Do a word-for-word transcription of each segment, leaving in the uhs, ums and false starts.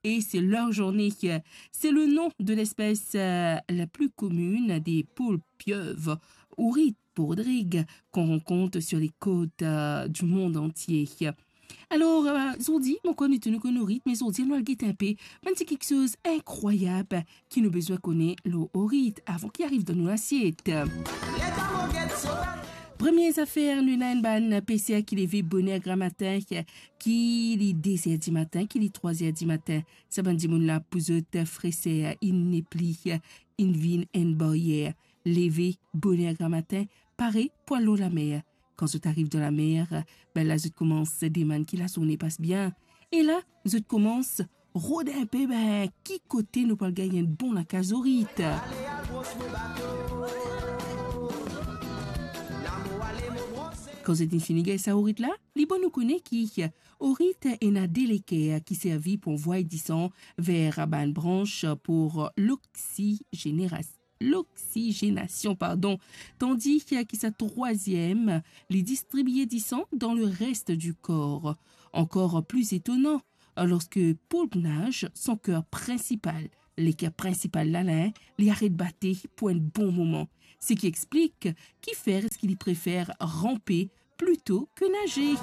et c'est leur journée. C'est le nom de l'espèce, euh, la plus commune des poules pieuvres, Ourit pordrig, qu'on rencontre sur les côtes, euh, du monde entier. Alor, euh, zordi, mo konn nou tou nou konn ourit, me zordi, nou al get inpe bann ti kiksoz inkrwayab ki nou bizin kone lor ourit avan ki ariv dan nou lasiet. Premie zafer, nou ena enn bann peser ki leve boner gramatin, ki li de zer dimatin, ki li trwa zer dimatin. Sa bann dimoun la, pou zot, freser inn nepli inn vinn enn baryer. Leve boner gramatin, pare pou al lor lamer. Kan zot ariv dan lamer, be la zot koumans demann ki lazourne pas bien. E la, zot koumans rod inpe, be, ki kote nou pou al gagn enn bon lakaz ourit. Kan zot inn fini gagn sa ourit la, li bon nou kone ki ourit ena de leker ki servi pou anvway disan ver bann brans pou loksizeneras-, loksizenasion, pardon, tandi ki sa trwaziem, li distribie disan dan le reste du kor. Ankor pli etonan, lorske poulp naz, son ker prinsipal, leker prinsipal la, la, li aret bate pou enn bon moman. Seki explik kifer eski li prefer ranpe plito ke naze.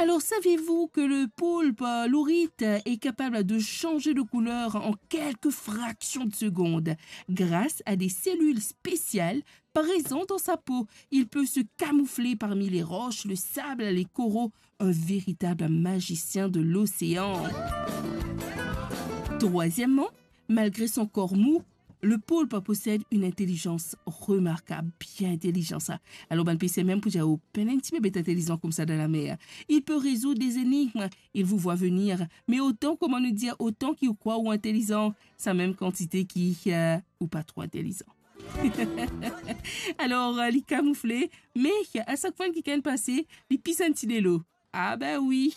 Alors, saviez-vous que le poulpe, euh, l'ourit, est capable de changer de couleur en quelques fractions de secondes grâce à des cellules spéciales présentes dans sa peau? Il peut se camoufler parmi les roches, le sable, les coraux, un véritable magicien de l'océan. Troisièmement, malgré son corps mou, le poulpe possède une intelligence remarquable, bien intelligent sa. Alor, bann peser mem pou dir, "Oh, pena enn tipe bet intelizan koumsa dan lamer. Il peut résoudre des énigmes, il vous voit venir, mais autant, kouma nou dir, autant ki ou krwar ou intelizan, sa mem kantite ki, euh, ou pa tro intelizan." Alor, euh, li kamoufle, me a sak fwa ki gagn pase, li pis enn ti delo. Ah ben oui.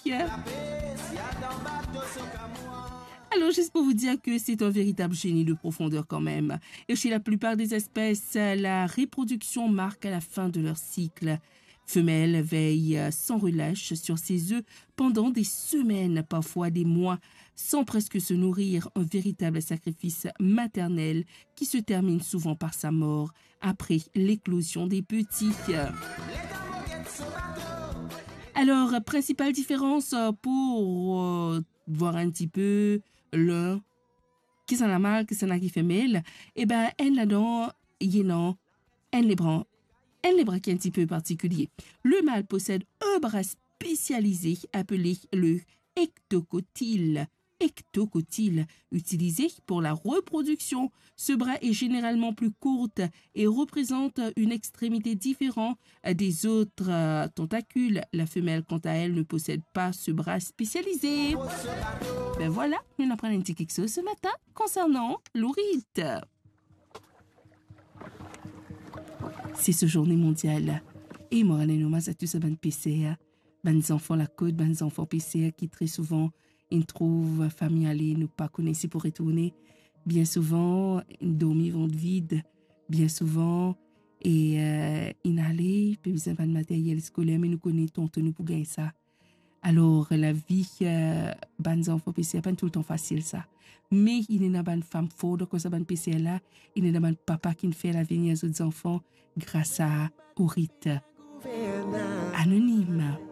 Alors, juste pour vous dire que c'est un véritable génie de profondeur quand même. Et chez la plupart des espèces, la reproduction marque la fin de leur cycle. Femelle veille sans relâche sur ses œufs pendant des semaines, parfois des mois, sans presque se nourrir, un véritable sacrifice maternel qui se termine souvent par sa mort après l'éclosion des petits. Alors, principale différence, euh, pour, euh, voir un petit peu le, kisannla mal, kisannla ki femel, e ben, enn ladan, ena enn lebra, enn lebra ki enn tipe partikilie. Le mâle possède un bras spécialisé appelé le hectocotyle, hectocotyle, utilisé pour la reproduction. Ce bras est généralement plus courte et représente une extrémité différente des autres, euh, tentacules. La femelle, quant à elle, ne possède pas ce bras spécialisé. Ben voilà, nou aprann enn ti kiksoz ce matin concernant lourit. C'est ce journée mondiale. E mo rant omaz a tou sa bann peser, bann zanfan lakot, bann zanfan peser ki tre souvan inn trouv fami ale, nou pa kone si pou retourne. Bien souvan, inn dormi vant vid. Bien souvan, e, euh, inn ale, pe bizin bann materyel skoler, me nou kone tonton nou pou gagn sa. Alor, lavi, euh, bann zanfan peser, pa toultan fasil sa. Me inn ena bann fam for dan koz sa bann peser la, inn ena bann papa ki'nn fer lavenir zot zanfan gras a ourit. Anonim.